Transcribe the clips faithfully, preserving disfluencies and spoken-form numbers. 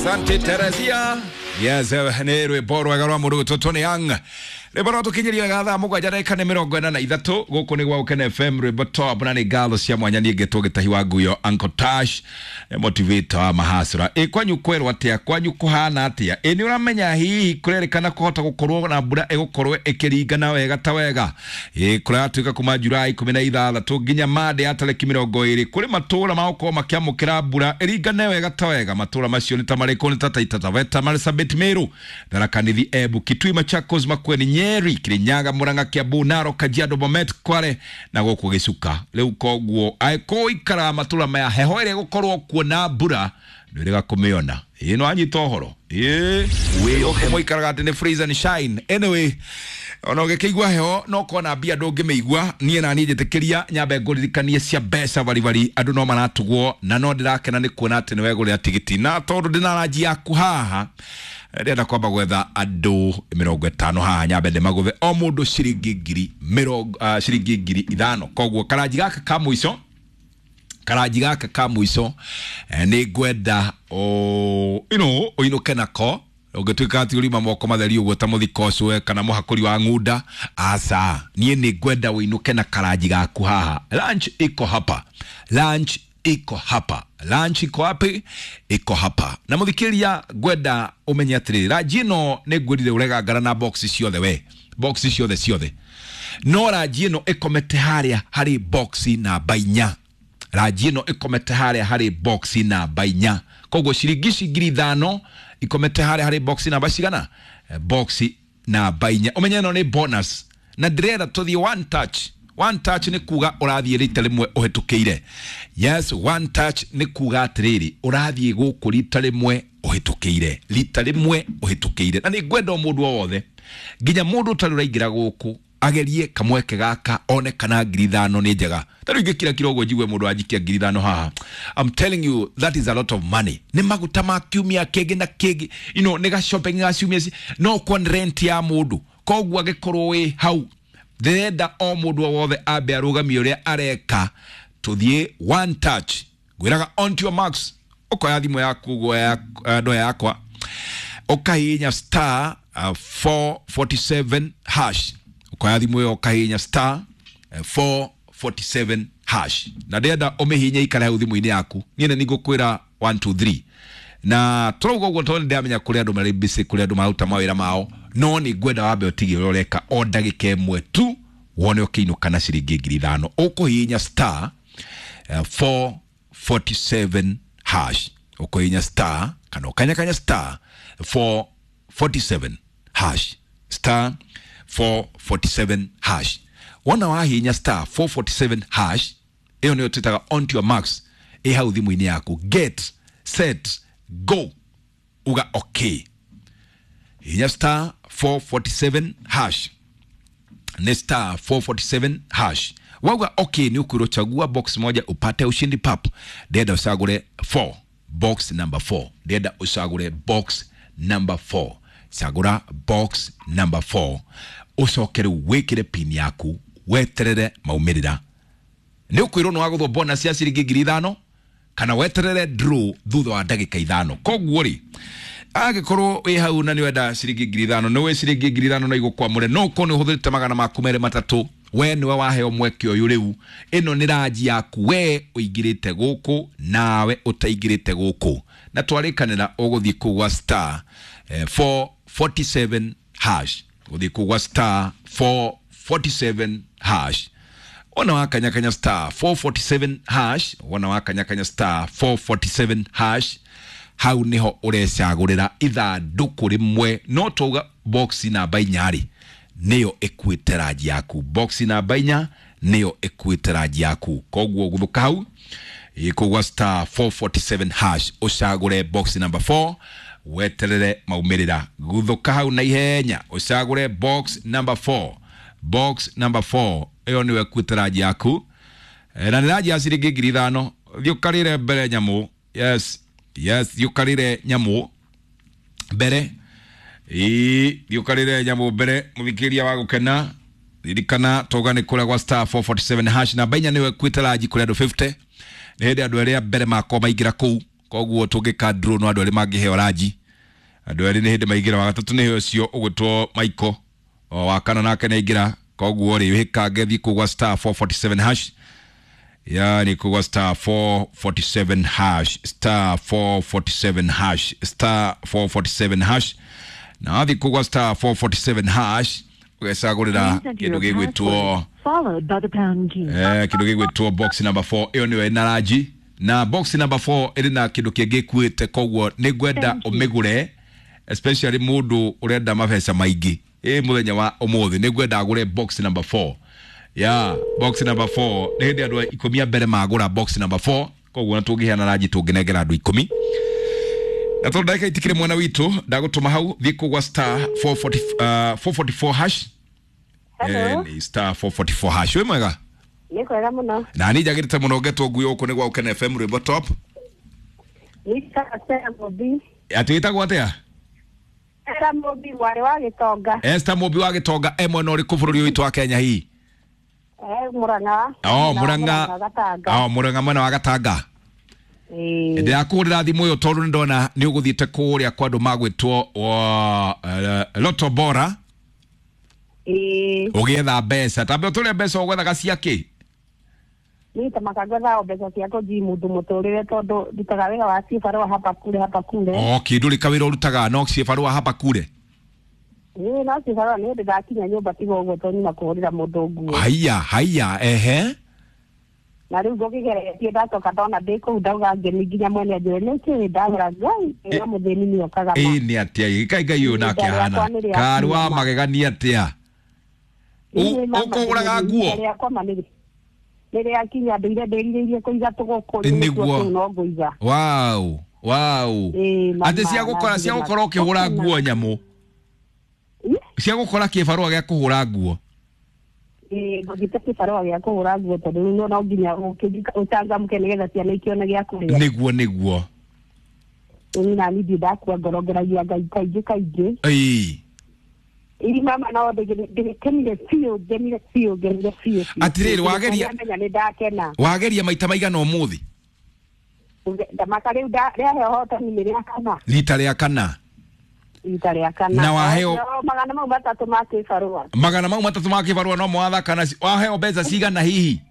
Asante Teresia. Yes, nä rwä mbo rwega rwa må ndå gwä two Tony Young. Rwä rwa tå kinyeria wega thaa mũgwanja ndagĩka nĩ mĩrongo ĩna na ithatũ. Gũkũ nĩ gwa Gũkena F M, rwĩmbo top na nĩ ngatho cia mwanya niĩ ngetwo Gĩtahi wa Nguyo, Uncle Tash, motivator wa mahasura. Ĩ kwanyu kwerwo atĩa? Kwanyu kũhana atĩa? Ĩ nĩ ũramenya hihi kũrerĩkana kũhota gũkorwo na mbura ĩgũkorwo ĩkĩringana wega ta wega. Ĩ kũratuĩka kuma Julai ikũmi na ithathatũ nginya Monday ya tarĩki mĩrongo ĩrĩ kũrĩ matũũra magũkorwo makĩamũkĩra mbura ĩringane wega ta wega. Matũũra macio nĩ ta marĩkũ? Nĩ ta Taita Taveta, Marsabit, Meru, Tharaka Nithi, Embu, Kitui, Machakos, Makueni, Nyeri, Kirinyaga, Murang'a, Kiambu, Narok, Kajiado, Bomet, Kware na gũkũ Gĩcuka. Rĩu koguo angĩkorwo ikaraga matũũra maya, heho ĩrĩa ĩgũkorwo kuo na mbura ndwĩrĩga kũmĩona. Ĩĩ no anyita ũhoro. Ĩĩ gũkũ mũikaraga atĩ nĩ freeze and shine. Anyway, ona ũgĩkĩigua heho no kona mbia ndũngĩmĩigua. Niĩ na niĩ njĩtĩkĩria nyambe ngũririkanie cia mbeca baribari, andũ no maratugwo na no ndĩrakena nĩ kuona atĩ nĩ wegũrĩra tigiti, na tondũ ndĩna ranji yaku haha ndĩrenda kwamba gwetha andũ mĩrongo ĩtano haha nyambe ndĩmagũthe o mũndũ ciringi ngiri mĩrongo, uh, ciringi ngiri ithano. Koguo karanji gaka ka mũico, karanji gaka ka mũico, eh, nĩ ngwenda o, you know, ũinũke nako. Ũngĩtuĩka atĩ ũrima moko matheri ũguo ta mũthiko ũcio kana mũhakũri wa ng'unda, aca, niĩ nĩ ngwenda ũinũke na karanji gaku haha. Lunch iko hapa, lunch iko hapa, lunch iko wapi? Iko hapa. Na mũthikĩrĩria ngwenda ũmenye atĩrĩrĩ, ranji ĩno nĩ ngwĩrire ũregangara na box ciothe, we box ciothe ciothe, no ranji ĩno ĩkomete harĩa harĩ box namba inya. Ranji ĩno ĩkomete harĩa harĩ box namba inya. Koguo ciringi ici ngiri ithano ikomete harĩa harĩ box namba cigana? Box namba inya. Ũmenye ĩno nĩ bonus na ndĩrenda tũthiĩ one touch. One touch nĩ kuga ũrathiĩ rita rĩmwe ũhĩtũkĩire. Yes, one touch nĩ kuga atĩrĩrĩ, ũrathiĩ gũkũ rita rĩmwe ũhĩtũkĩire, rita rĩmwe ũhĩtũkĩire. Na nĩ ngwenda o mũndũ o wothe, nginya mũndũ ũtarĩ ũraingĩra gũkũ agerie kamweke gaka one kana ngiri ithano nĩ njega. Ta rĩu ingĩkira kiro ũguo njigue mũndũ anjikia ngiri ithano haha, I'm telling you that is a lot of money. Nĩ maguta ma kiumia kĩngĩ na kĩngĩ, you know, nĩ ga shopping ga ciumia ci, no kwa rent ya mũndũ. Koguo angĩkorwo wĩ hau, ndĩrenda o mũndũ o wothe ambe arũgamie ũrĩa areka, tũthiĩ one touch. Ngwĩraga on to your marks, ũkoya thimũ yaku ũguo ya, eh, ndoya yakwa, ũkahihinya star, uh, four forty-seven hash. Ũkoya thimũ ĩyo ũkahihinya star, eh, four forty-seven hash. Na ndĩrenda ũmĩhihinye ikare hau thimũ-inĩ yaku. Niĩ nĩ ngũkwĩra one two three. Na tũrauga ũguo tondũ nĩndĩramenya kũrĩ andũ marĩ busy, kũrĩ andũ maruta mawĩra mao, no nĩ ngwenda wambe ũtige ũrĩa ũreka o ndagĩka ĩmwe tu wone ũkĩinũka na ciringi ngiri ithano. Ũkũhihinya star, eh, four forty-seven hash. Ũkũhihinya star kana ũkanyakanya star four forty-seven hash. Star four forty-seven hash. Wona wahihinya star four forty-seven hash, ĩyo nĩyo twĩtaga on to your marks, ĩ hau thimũ-inĩ yaku. Get set go, uga okay. Hihinya star four forty-seven hash. Ni star four forty-seven hash. Wauga okay, ni ukwirwo chagua box moja upate ushindi pap. Ndĩrenda ũcagũre four, box number four. Ndĩrenda ũcagũre box number four. Cagũra box number four. Ũcoke rĩu wĩkĩre pin yaku, weterere maumĩrĩra. Nĩ ũkwĩrwo nĩ wagũthwo bonus ya ciringi ngiri ithano kana weterere draw thutha wa ndagĩka ithano. Koguo rĩ, angĩkorwo wĩ hau na nĩ wenda ciringi ngiri ithano, nĩ wĩ ciringi ngiri ithano no igũkwamũre, no ũkorwo nĩ ũhũthĩrĩte magana maku merĩ matatũ, we nĩwe waheo mweke ũyũ rĩu. Ĩno nĩ ranji yaku, we ũingĩrĩte gũkũ nawe ũtaingĩrĩte gũkũ. Na twarĩkanĩra ũgũthiĩ kũu gwa star, eh, four forty-seven hash. Ũgũthiĩ kũu gwa star four forty-seven hash. Wona wakanyakanya star four forty-seven hash, wona wakanyakanya star four forty-seven hash, hau niho ũrecagũrĩra ithandũkũ rĩmwe, no twauga box namba inya rĩ nĩyo ĩkuĩte ranji yaku. Box namba inya nĩyo ĩkuĩte ranji yaku. Koguo gũthũka hau ĩkũgwa star four forty-seven hash, ũcagũre box number four, weterere maumĩrĩra. Gũthũka hau na ihenya ũcagũre box number four. Box number four ĩyo nĩyo ĩkuĩte ranji yaku. Eh, na nĩ ranji ya ciringi ngiri ithano. Thiĩ ũkarĩre mbere nyamũ. Yes, yes, thiĩ ũkarĩre nyamũ mbere. Ĩĩ, thiĩ ũkarĩre nyamũ mbere, mũthikĩrĩria wa gũkena. Ririkana toga nĩ kũrĩa gwa star four forty-seven hash. Namba inya nĩyo ĩkuĩte ranji kũrĩ andũ fifty. Nĩ hĩndĩ andũ arĩa mbere makwa maingĩra kũu. Koguo tũngĩka draw no andũ erĩ mangĩheo ranji. Andũ erĩ nĩ hĩndĩ maingĩra, wa gatatũ nĩ ũcio ũgwĩtwo Michael, o wa kana nake nĩ aingĩra. Koguo rĩ, wĩkange thiĩ kũu gwa star four forty-seven hash, yani kũu star four forty-seven hash, star four forty-seven hash, star four forty-seven hash. Na wathiĩ kũu gwa star four forty-seven hash ũgecagũrĩra kĩndũ gĩgwĩtwo followed by the pound key. Eh, kĩndũ gĩgwĩtwo box number four. Ĩyo nĩyo ĩna ranji, na box number four ĩrĩ na kĩndũ kĩngĩ ĩkuĩte. Koguo nĩ ngwenda ũmĩgũre, especially mũndũ ũrenda mabeca maingĩ ĩ mũthenya wa ũmũthĩ. Nĩ ngwenda agũre box number four. Ya box number four nĩ hĩndĩ andũ ikũmi a mbere magũra box number four. Koguo na tũngĩheana ranji tũngĩnengera andũ ikũmi. Na tondũ ndagĩka itikĩrĩ mwena witũ, ndagũtũma hau thiĩ kũu gwa star four forty, uh, four forty-four hash. Hello. Eh, ni star four forty-four hash. Wĩ mwega? Nĩ kwega mũno. Na niĩ njagĩrĩte mũno ngetwo ngui gũkũ nĩ gwa Ũkene F M rwĩmbo top. Nĩ Esther Mũmbi. Atĩ wĩtagwo atĩa? Esther Mũmbi mwarĩ wa Gĩtonga. Esther Mũmbi wa Gĩtonga e mwena ũrĩkũ bũrũri ũyũ witũ wa Kenya hihi? Eh, Murang'a. Oh, Murang'a. Gatanga. Oh, Murang'a mwena wa Gatanga. Ĩĩ. Ndĩrakũhũrĩra thimũ ĩyo tondũ nĩndona nĩ ũgũthiĩte kũrĩa kwa andũ magwĩtwo wa, eh, Lotto Bora. Ĩĩ. Ũgĩetha mbeca. Tambe ũtũrĩa mbeca ũgwethaga cia kĩ? Niĩ ta makangwetha o mbeca cia kũnji mũndũ mũtũrĩre tondũ ndutaga wĩra wa cibarũa hapa kule hapa kule. Oh, kĩndũ rĩ kawĩra ũrutaga no cibarũa hapa kule? Ĩĩ, no cibarũa nĩ hĩndĩ ndakinya nyũmba tiga ũguo tondũ nyuma kũhũrĩra mũndũ nguo. Haiya, haiya, ehe. Na rĩu ngũkĩgeretie ndacoka ndona ndĩ kũu ndauga ngeni nginya mwene anjĩre nĩ kĩĩ ndagũra Ngai ĩno mũthĩni nĩokaga ma. Ĩĩ, nĩ atĩa ĩ? Ngai, Ngai ũyũ nake Ihinda ahana. rĩakwa nĩ rĩa Karĩ wa kinya. magegania atĩa? Ĩĩ, mama, Ũkũgũraga nguo? ihinda rĩakwa ma nĩ nĩ rĩakinya ndũire ndĩrirĩirie kũiga tũgũkũ, rĩu Nĩguo. nĩkuo kũu no ngũiga. Wow, wow. Ĩĩ, mama, Atĩ cia gũkora, cia na gũkorwo ũkĩhũra ngĩma. nguo nyamũ. Ĩ? Cia gũkora kĩbarũa gĩa kũhũra nguo. Ĩĩ, ngũthiĩte kĩbarũa gĩa kũhũra nguo tondũ rĩu no nginya ũkĩ-, ũcanjamũke nĩgetha ciana ikĩone gĩa kũrĩa. Nĩguo, nĩguo. Ĩĩ, na niĩ ndirĩ ndakua ngoro, ngeragia Ngai kaingĩ kaingĩ. Ĩĩ. Ĩĩ, mama, no ndĩgĩkenire biũ, ngenire biũ, ngenire biũ, biũ. Atĩrĩrĩ, wageria Ndamenya nĩ ndakena. Wageria maita maigana ũmũthĩ? Ndamaka rĩu nda-, rĩaheo hotani nĩ rĩa kana. Rita rĩa kana. Rita rĩa kana. Na waheo No, magana mau matatũ ma kĩbarũa. Magana mau matatũ ma kĩbarũa no mwathaka na ci-, waheo mbeca cigana hihi?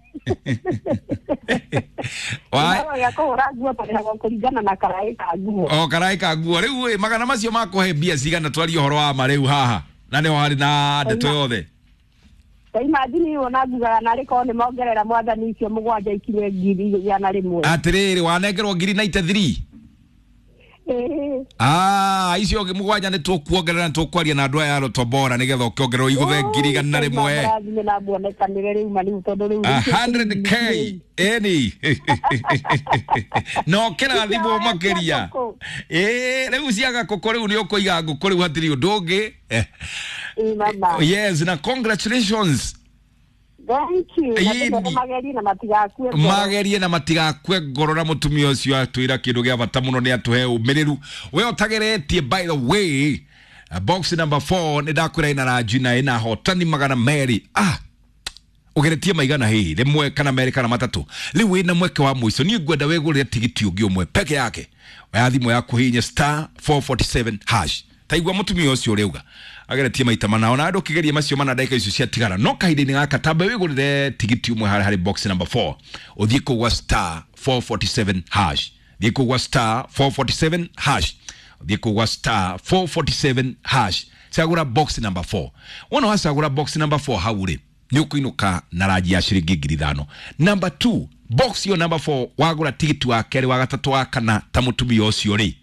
Wa- Kĩbarũa gĩa kũhũra nguo tũrĩhagwo kũringana na karaĩ ka nguo. O karaĩ ka nguo. Rĩu ĩ, magana macio makũhe mbia cigana twarie ũhoro wa ma rĩu haha? Na nĩho harĩ na ndeto yothe. Ta imagine wona ngugaga narĩ korwo nĩ mongerera mwathani icio mũgwanja ikinye ngiri igana rĩmwe. Atĩrĩrĩ, wanengerwo ngiri ninety-three? Ĩĩ. Ah, icio mũgwanja nĩ tũkuongerera, nĩ tũkwaria na andũ aya a Lotto Bora nĩgetha ũkĩongererwo igũthe ngiri igana rĩmwe. Mũrathime na muonekanĩre rĩu ma rĩu tondũ rĩu A rĩu hundred K, ĩni. Na ũkĩrathimwo makĩria. Ĩĩ, rĩu cia gakũkũ rĩu nĩ ũkũiga ngũkũ rĩu hatirĩ ũndũ ũngĩ. Ĩĩ, mama. Yes, na congratulations. Thank you. Na Ĩĩ, tũkene magerie na matigakue ngoro. Magerie na matigakue ngoro, na mũtumia ũcio atwĩra kĩndũ gĩa bata mũno nĩ atũhe ũmĩrĩru. We ũtageretie, by the way, box number four nĩ ndakwĩra ĩna ranji na ĩna hotani magana merĩ. Ah, ũgeretie maigana hihi rĩmwe kana merĩ kana matatũ. Rĩu wĩna mweke wa mũico, niĩ ngwenda wĩgũrĩre tigiti ũngĩ ũmwe peke yake. Oya thimũ yaku hihinya star four forty-seven hash. Taigua mũtumia ũcio ũrĩuga ageretie maita mana, ona andũ ũkĩgeria macio mana ndagĩka icio ciatigara. No kahinda-inĩ gaka tamba wĩgũrĩre tigiti ũmwe harĩ harĩ box number four. Ũthiĩ kũu gwa star four forty-seven hash. Thiĩ kũu gwa star four forty-seven hash. Thiĩ kũu gwa star four forty-seven hash. Cagũra box number four. Wona wacagũra box number four hau rĩ, nĩ ũkũinũka na ranji ya ciringi ngiri ithano. Number two, box yo number four, wagũra tigiti wa kerĩ, wa gatatũ, wa kana ta mũtumia ũcio rĩ,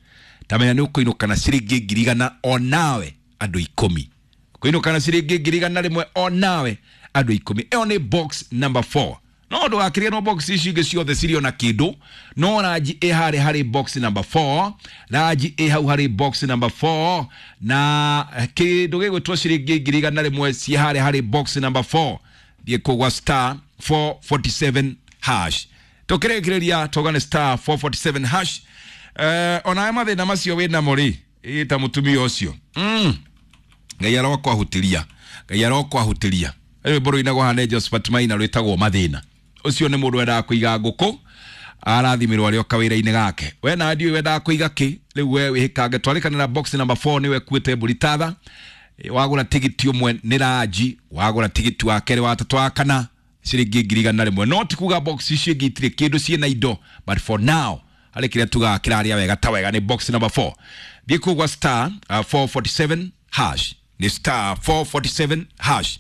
tamenya nĩ ũkũinũka na ciringi ngiri igana o nawe andũ ikũmi. Ũkũinũka na ciringi ngiri igana rĩmwe o nawe andũ ikũmi. Ĩyo nĩ box number four. No ndũgakĩrĩe no box ici ingĩ ciothe cirĩ ona kĩndũ, no ranji ĩ harĩ harĩ box number four, ranji ĩ hau harĩ box number four, na kĩndũ gĩgwĩtwo ciringi ngiri igana rĩmwe ciĩ harĩ harĩ box number four. Thiĩ kũu gwa star four forty-seven hash. Tũkĩrĩkĩrĩria tũgane star four forty-seven hash. Eh, onawe mathĩna macio wĩnamo rĩ, ĩ ta mũtumia ũcio. Mm. Ngai arokwahutĩria. Ngai arokwahutĩria. Rĩu rwĩmbo rũinagwo haha nĩ Josephat Maina rwĩtagwo Mathĩna. Ũcio nĩ mũndũ wendaga kũiga ngũkũ, Arathimirwo arĩ o kawĩra-inĩ gake. We na ndiũĩ wendaga kũiga kĩ rĩu, we wĩhĩkange twarĩkanĩra. Box number four nĩwe kuĩte mbũri tatha. Wagũra tigiti ũmwe nĩ ranji, wagũra tigiti wa kerĩ, wa tatũ, wa kana, ciringi ngiri igana rĩmwe. No ti kuga box icio ingĩ itirĩ kĩndũ, ciĩna indo, but for now harĩ kĩrĩa tugaga kĩrarĩa wega ta wega nĩ box number four. Thiĩ kũu gwa star uh, four forty-seven hash, nĩ star four forty-seven hash,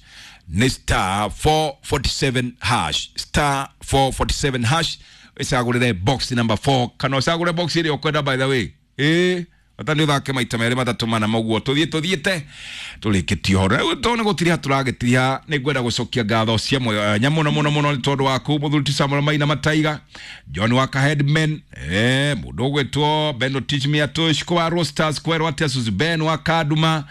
nĩ star four forty-seven hash, star four forty-seven hash, ĩcagũrĩre box number four kana ũcagũre box ĩrĩa ũkwenda. By the way, ĩĩ, bata nĩ ũthake maita merĩ, matatũ, mana mũguo tũthiĩ tũthiĩte tũrĩkĩtie ũhoro. Rĩu tondũ nĩ gũtiriha tũragĩtiriha, nĩ ngwenda gũcokia ngatho cia mwanya mũno mũno mũno nĩ tondũ waku, mũthuri ti Samuel Maina Mataiga, John Waka Headman, eh, mũndũ ũgwĩtwo Beno Teach Me Atushko wa Rosters, kwerwo atĩa, Suzy Ben wa Kaduma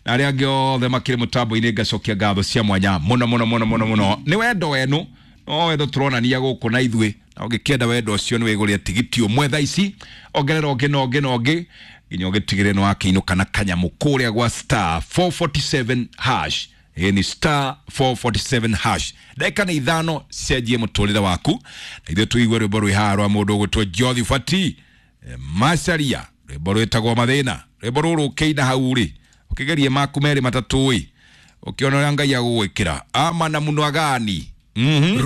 na arĩa angĩ othe makĩrĩ mũtambo-inĩ. Ngacokia ngatho cia mwanya mũno mũno mũno mũno mũno nĩ wendo wenu, no wendo tũronania gũkũ na ithuĩ. Na ũngĩkĩenda wendo ũcio, nĩ wĩgũrĩre tigiti ũmwe thaa ici, ongerera ũngĩ na ũngĩ na ũngĩ nginya ũgĩtigĩrĩre nĩ wakĩinũka na kanyamũ kũrĩa gwa star four forty-seven hash. Ĩ ni star four forty-seven hash. Ndagĩka nĩ ithano cenjie mũtũrĩre waku, na ithuĩ tũigue rwĩmbo rwĩ haha rwa mũndũ ũgwĩtwo Jothi Fati Macaria, rwĩmbo rwĩtagwo Mathĩna. Rwĩmbo rũrũ ũkĩina hau rĩ, ũkĩgerie maku merĩ matatũ ĩ, ũkĩona ũrĩa Ngai agũgwĩkĩra ama na mũno agani. mm -hmm.